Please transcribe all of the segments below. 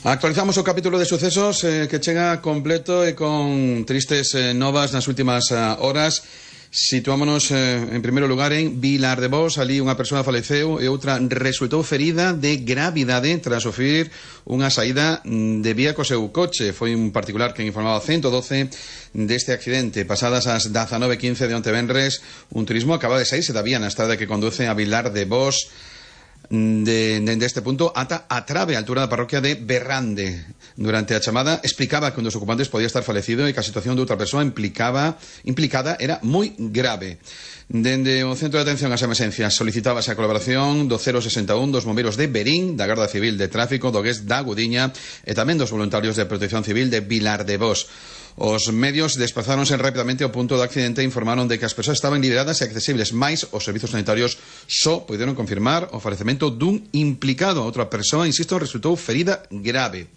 Actualizamos o capítulo de sucesos que chega completo e con tristes novas nas últimas horas. Situámonos en primeiro lugar en Vilar de Bos. Ali unha persoa faleceu e outra resultou ferida de gravidade tras sufrir unha saída de vía co seu coche. Foi un particular que informaba 112 deste accidente. Pasadas as 19:15 de onte venres, un turismo acaba de saírse da vía na estrada que conduce a Vilar de Bos deste punto ata a Trave, a altura da parroquia de Berrande. Durante a chamada explicaba que un dos ocupantes podía estar falecido e que a situación de outra persoa implicada era moi grave. Dende o Centro de Atención ás Emerxencias solicitábase a colaboración do 061 dos bombeiros de Berín, da Garda Civil de Tráfico, do GES da Gudiña e tamén dos voluntarios de Protección Civil de Vilar de Bos. Os medios desplazáronse rapidamente ao punto do accidente e informaron de que as persoas estaban liberadas e accesibles, mais os servizos sanitarios só puderon confirmar o falecemento dun implicado. Outra persoa, insisto, resultou ferida grave.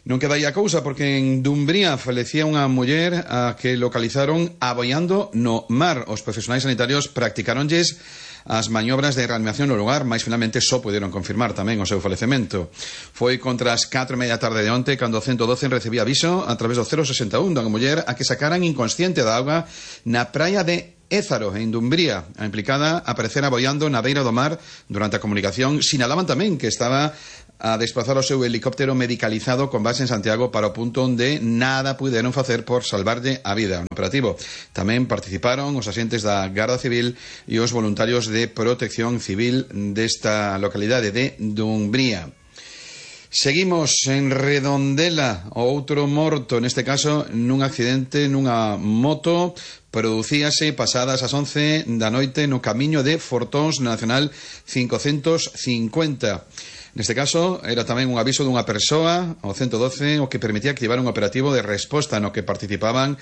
Non queda aí a cousa, porque en Dumbría falecía unha muller a que localizaron aboiando no mar. Os profesionais sanitarios practicáronlles as maniobras de reanimación no lugar, mas finalmente só puderon confirmar tamén o seu falecemento. Foi contra as 4:30 da tarde de onte cando o 112 recibía aviso a través do 061 da muller a que sacaran inconsciente da auga na praia de Ézaro, en Dumbría. A implicada aparecera aboiando na beira do mar. Durante a comunicación sinalaban tamén que estaba a desplazar o seu helicóptero medicalizado con base en Santiago para o punto onde nada puderon facer por salvarlle a vida. No operativo tamén participaron os axentes da Garda Civil e os voluntarios de Protección Civil desta localidade de Dumbría. Seguimos en Redondela, o outro morto, neste caso nun accidente nunha moto. Producíase pasadas as 11 da noite no camiño de Fortóns Nacional 550. Neste caso, era tamén un aviso dunha persoa, o 112, o que permitía activar un operativo de resposta no que participaban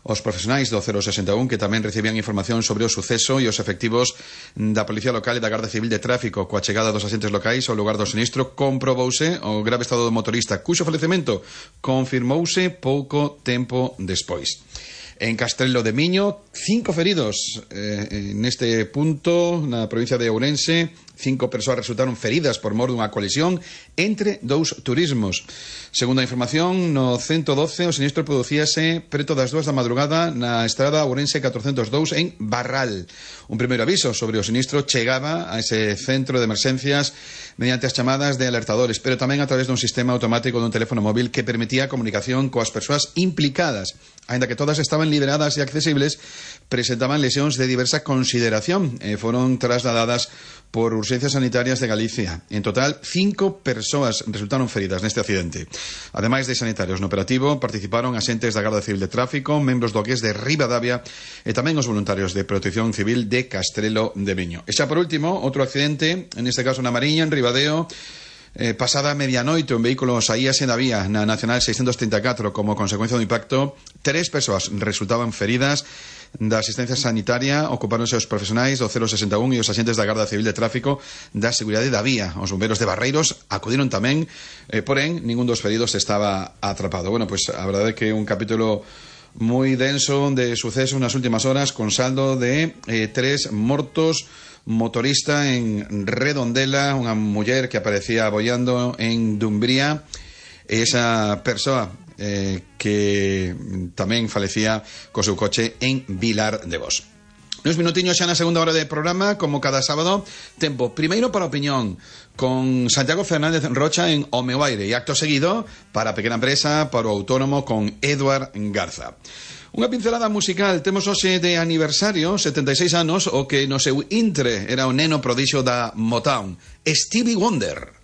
os profesionais do 061 que tamén recibían información sobre o suceso e os efectivos da Policía Local e da Garda Civil de Tráfico. Coa chegada dos axentes locais ao lugar do sinistro comprobouse o grave estado do motorista, cuxo falecemento confirmouse pouco tempo despois. En Castrelo de Miño, 5 feridos neste punto, na provincia de Ourense. 5 persoas resultaron feridas por mor dunha colisión entre dous turismos. Segundo a información, no 112 o sinistro producíase preto das 2 da madrugada na estrada Ourense 402 en Barral. Un primeiro aviso sobre o sinistro chegaba a ese centro de emerxencias mediante as chamadas de alertadores, pero tamén a través dun sistema automático dun teléfono móvil que permitía a comunicación coas persoas implicadas. Aínda que todas estaban liberadas e accesibles, presentaban lesións de diversa consideración e foron trasladadas por urxencias sanitarias de Galicia. En total, 5 persoas resultaron feridas neste accidente. Ademais de sanitarios no operativo, participaron axentes da Garda Civil de Tráfico, membros do GES de Ribadavia e tamén os voluntarios de Protección Civil de Castrelo de Miño. E xa por último, outro accidente, neste caso na Mariña, en Ribadeo. Pasada a medianoite, un vehículo saíase da vía na Nacional 634 como consecuencia do impacto. 3 persoas resultaban feridas. Da asistencia sanitaria ocupáronse os profesionais do 061 e os axentes da Garda Civil de Tráfico da Seguridade da Vía. Os bombeiros de Barreiros acudiron tamén, porén, ningún dos feridos estaba atrapado. Bueno, pues a verdade é que un capítulo moi denso de sucesos nas últimas horas, con saldo de 3 mortos. Motorista en Redondela, unha muller que aparecía aboiando en Dumbría, e esa persoa que tamén falecía co seu coche en Vilar de Bos. Nos minutiños xa na segunda hora de programa, como cada sábado, tempo primeiro para a opinión con Santiago Fernández Rocha en O Meu Aire, e acto seguido para a pequena empresa, para o autónomo con Eduard Garza. Unha pincelada musical. Temos hoxe de aniversario 76 anos o que no seu intre era o neno prodixio da Motown, Stevie Wonder.